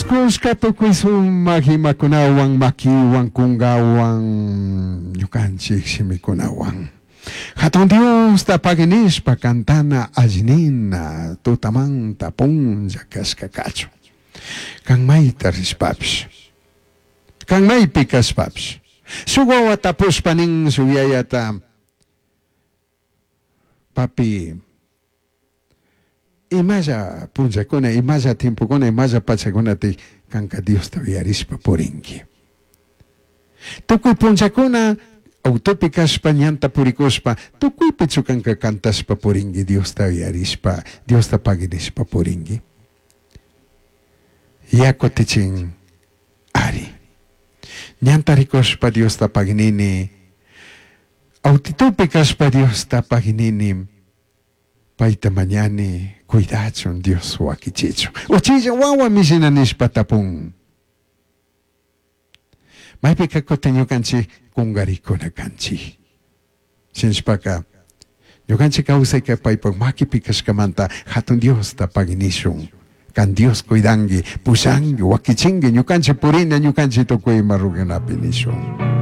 Dios cushca tucui sumaj imacunahuan, maquihuan, cungahuan, ñucanchij shimicunahuan. Jatun Diosta pagui nishpa cantana alli nina tutamanta punlla cashca cachun. Can maita rishpapish, can maipi cashpapish, shuj huahua tapushpa nin shuj yayata, Papi, imalla punllacuna, imalla tiempocuna, imalla pachacunati canca Diosta uyarishpa puringui? Tucui punllacuna autopi cashpa, ñanta puricushpa, tucuipichu canca cantashpa puringui, Diosta uyarishpa, Diosta pagui nishpa puringui? Yacutichin ari. Ñanta ricushpa Diosta pagui nini, autitopi cashpa Diosta pagui nini, paita mañani cuidachun Dios huaquichichun. Uchilla huahua mishina nishpa tapun. Maipica cutin ñucanchij cungaricuna canchij. Shinashpaca ñucanchij causaica paipaj maquipi cashcamanta Jatun Diosta pagui nishun. Can Dios cuidangui, pushangui, huaquichingui, ñucanchij purina, ñucanchij tucui ima rugunapi nishun.